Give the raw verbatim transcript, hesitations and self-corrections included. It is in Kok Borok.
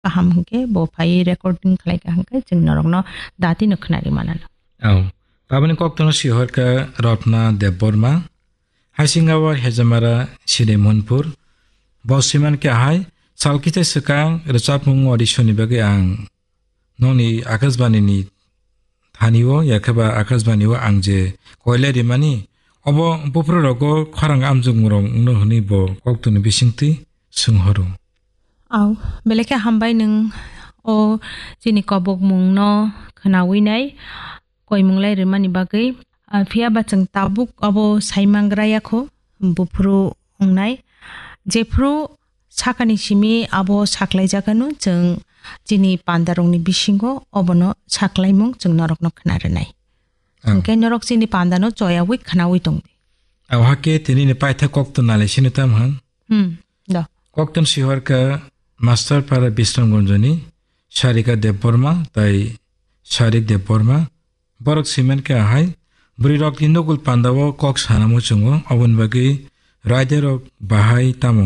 kaham hwnkhe bo phai recording khlai kha hwnkhe chwng norokno datino khwnari manano. Au. Aboni koktwno sihorkha Ratna Debbarma. Haisingawar Hejamara Siri Monpur. Bo siman khe ahai, sal kisa swkang rwchapmung audition ni bagwi ang nokni Akashbani ni thani o, yakhe ba Akashbani o ang je koilai rimani, obo buphuru rogo khorang amjokmung rok wngno hwnwi bo koktwni bisingtwi swng horo. Au, belai khe hambai nwng o chini kobokmung no khwnawi nai, koimung lai rwmani bagwi. Ah, phiya ba chwng tabuk abo sai mangra ya kho, buphuru wngnai. Jephru sakani simi abo saklai jakano chwng chini pandarokni bisingo obono saklaimung chwng norokno khwna rwnai. Ang. Hwnkhe norok chini pandano choyawi khwnawi tongdi. Abo hakhe tini ni paitha koktwna le sini tam han. Hmm, do. Koktwna sihorkha Master Para Bisramganjoni Sarika Debbarma tai Sarik Debbarma. Borok siman khe ahai, bwrwi rokni nugul pandao kok sanamo chwngo, oboni bagwi raida rok bahai tamo